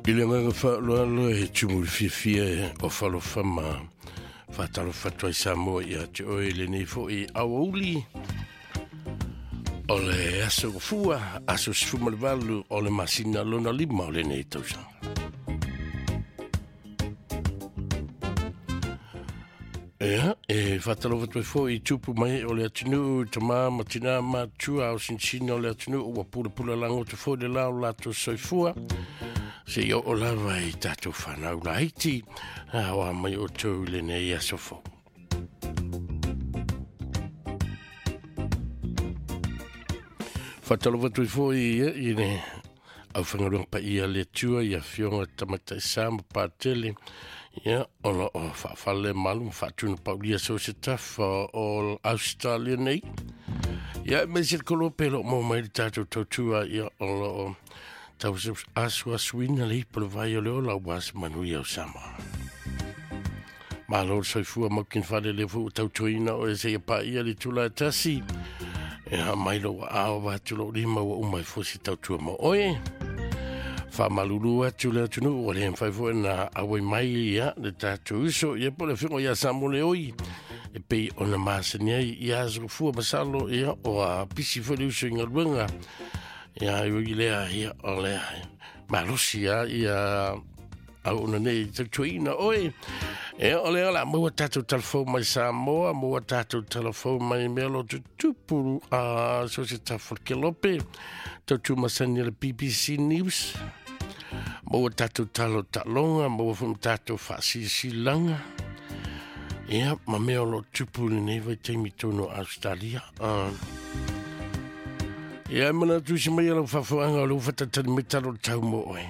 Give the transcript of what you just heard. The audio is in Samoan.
I le agaga faaaloalo e tumu i le fiafia o falofa ma faatalofa atu ai Samoa ia te oe i lenei foi aoauli o le aso gafua, aso 18 o le masina lona lima o lenei tausaga. Ia, e faatalofa atu ai foi i tupu mai o le atunuu, tama ma tina matua o sinsina o le atunuu ua pulapula lagoto foi le la o latou soifua. Se i oo lava i tatou whanau laiti, a oa mai o tau i lenei aso fou. Faatalofa atu ai foi i le aufaigaluega paia a le Atua i afioga Tamaitai Sa ma Patele, ia, o lo o faafale malu ma faatuna paulia so se tafa o Australia nei. Ia, e mai se kolope lo mo mai le tātou tautua, ia, o lo o tau asuasuina le ipo le vai o le ola ua se manuia o Samoa. Malo le soifua maukini fale le fu tautuaina o e se ia paia le tula e tasi. E ha mai lo ao va atu lo lima ua uma e fosi tautua mo oe. Whamalulu atu le atunu ua le mwhai fo na awai mai ia le tātou uso ia po le whingo ia sa mo le oi. E pei ona masani ai ia aso fua masalo ia o a pisi fo le uso i ngaluenga. Ia i lea ia o lea malosi ia ia au ona nei tautuaina oe. E o lea la maua tātou telefon mai Samoa, maua tātou telefon mai mea lo tutupu a so se tafa ke lope, tautu masani le BBC News. Maua tātou talo talonga, maua fo tātou whaasisisilanga. Ia, ma mea o lo tupu le nei vai taimi tonu Australia. Ia, mana tusi mai ala whafuanga o le uwhatatani me talo tau mo oe.